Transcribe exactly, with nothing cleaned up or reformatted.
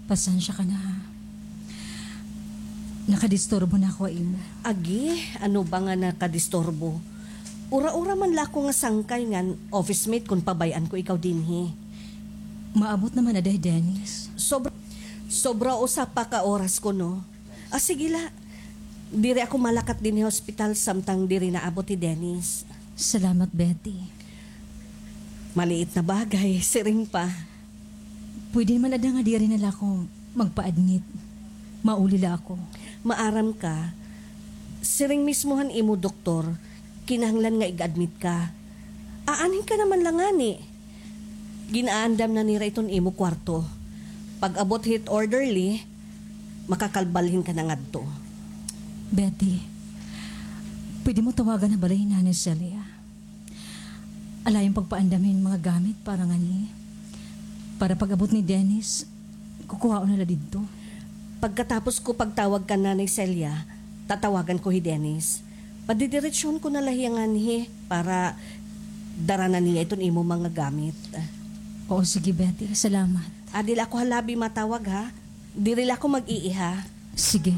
Pasensya ka na, ha. Nakadisturbo na ako ha imo. Agi, ano ba nga nakadisturbo? Ura-ura man la ako nga sangkay ngan office mate kon pabay-an ko ikaw dinhi. Maabot naman ada hi Dennis. Sobra, sobra usa pa ka oras kuno. Ah, sige la. Diri ako malakat dinhi ha ospital samtang diri naabot hi Dennis. Salamat, Betty. Maliit na bagay, siring pa. Pwede naman ada nga diri na la ako magpa-admit. Mauli la ako. Maaram ka, siring mismo han imo doktor, kinahanglan nga ig-admit ka. Aanhin ka naman la ngani. Gin-aandam na nira iton imo kwarto. Pag-abot hit orderly, makakalbalhin ka na ngadto. Betty, pwede mo tawagan ha balay hi Nanay Celia. Ala, iton pagpaandam hin mga gamit para nganhi. Para pag-abot ni Dennis, kukuhaon na la didto. Pagkatapos ko pagtawag kan Nanay Celia, tatawagan ko hi Dennis. Padidiretsohon ko na la hiya nganhi para dara na niya iton imo mga gamit. Oo, sige, Betty. Salamat. Adi la ako ha lobby matawag, ha? Diri la ako mag-iiha. Sige.